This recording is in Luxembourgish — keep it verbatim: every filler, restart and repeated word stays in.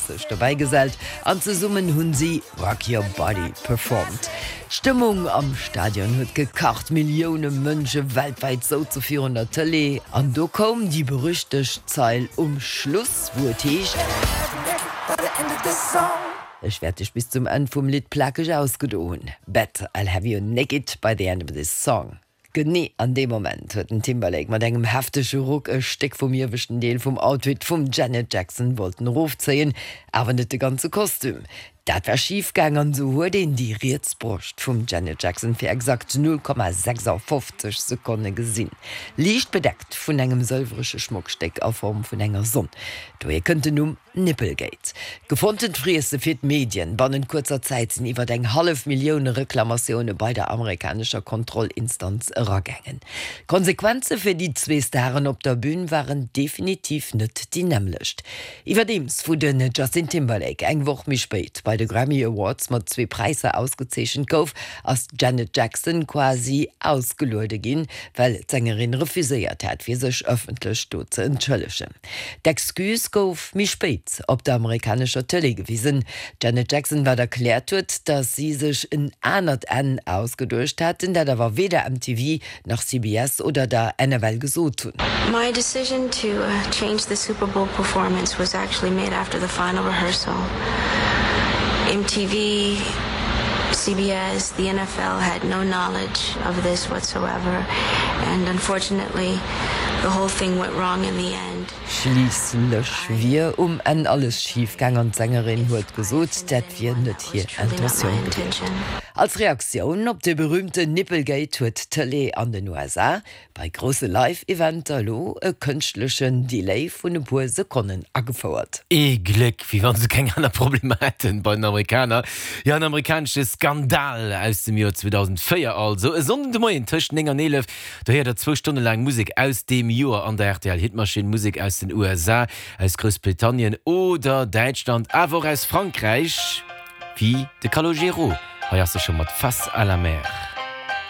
sech dobäi gesellt an zesummen hunn si Rock Your Body performt. D'Stëmmung am Stadion huet gekacht, Millioune Mënsche weltwäit souze virun der Tëlee an do koum déi berüchtegt Zeil um Schluss, wou et heescht, Ech wäert dech bis zum Enn vum Lidd plakeg ausgedo hunn, Bet I'll have you naked by the end of this song. Genee an deem Moment huet den Timberlake mat engem heftege Ruck e Stéck vum ieweschten Deel vum Outfit vum Janet Jackson wollten erofzéien, awer net de ganze Kostüm. Dat war schif gaang an esou huet een déi riets Broscht vum Janet Jackson fir exakt null Komma sechsafofzeg Sekonne gesinn, liicht bedeckt vun engem sëlwerege Schmockstéck a Form vun enger Sonn. Dohier kënnt den Numm Nipplegate. Gefonntent Friesse fir d'Medien, bannent kuerzer Zäit sinn iwwer eng hallef Millioun Reklamatioune bei der amerikanescher Kontrollinstanz eragaangen. D'Konsequenze fir déi zwee Staren op der Bün waren definitiv net déi nämmlecht. Iwwerdeems wou den Justin Timberlake eng Woch méi spéit bei de Grammy Awards mat zwee Präisser ausgezeechent gouf, ass d'Janet Jackson quasi ausgeluede ginn, well d'Sängerin refuséiert hat, fir sech ëffentlech do ze entschëllegen. D'Excuse gouf méi spéit op der amerikanescher Tëlee gewisen. D'Janet Jackson, wat erkläert huet, datt si sech en anert Enn ausgeduecht hätten, dat awer weder M T V nach C B S oder der N F L gesot hunn. My decision to change the Super Bowl performance was actually made after the final rehearsal. M T V, C B S, the N F L had no knowledge of this whatsoever, and unfortunately the whole thing went wrong in the end. Schliisslech wier um Enn alles schif gaang an d'Sängerin huet gesot, dat wier net hir Intentioun gewiescht. Als Reaktioun op de berüümten Nipplegate huet d'Tëlee an den U S A bei grousse Live-Eventer elo e kënschtlechen Delay vun e puer Sekonnen agefouert. Ee Gléck, wéi wann se keng aner Problemer hätten bei den Amerikaner. Jo, en amerikanesche Skandal aus dem Joer zweedausendvéier also. E Sonnden de Moien tëscht néng an eelef, do héiert der zwou Stonne laang Musek aus deem Joer an der R T L Hitmaschinn. Musek aus den U S A, aus Groussbritannien oder Däitschland, awer och aus Frankräich, wéi de Calogero. Hei ass e scho mat Face à la mer.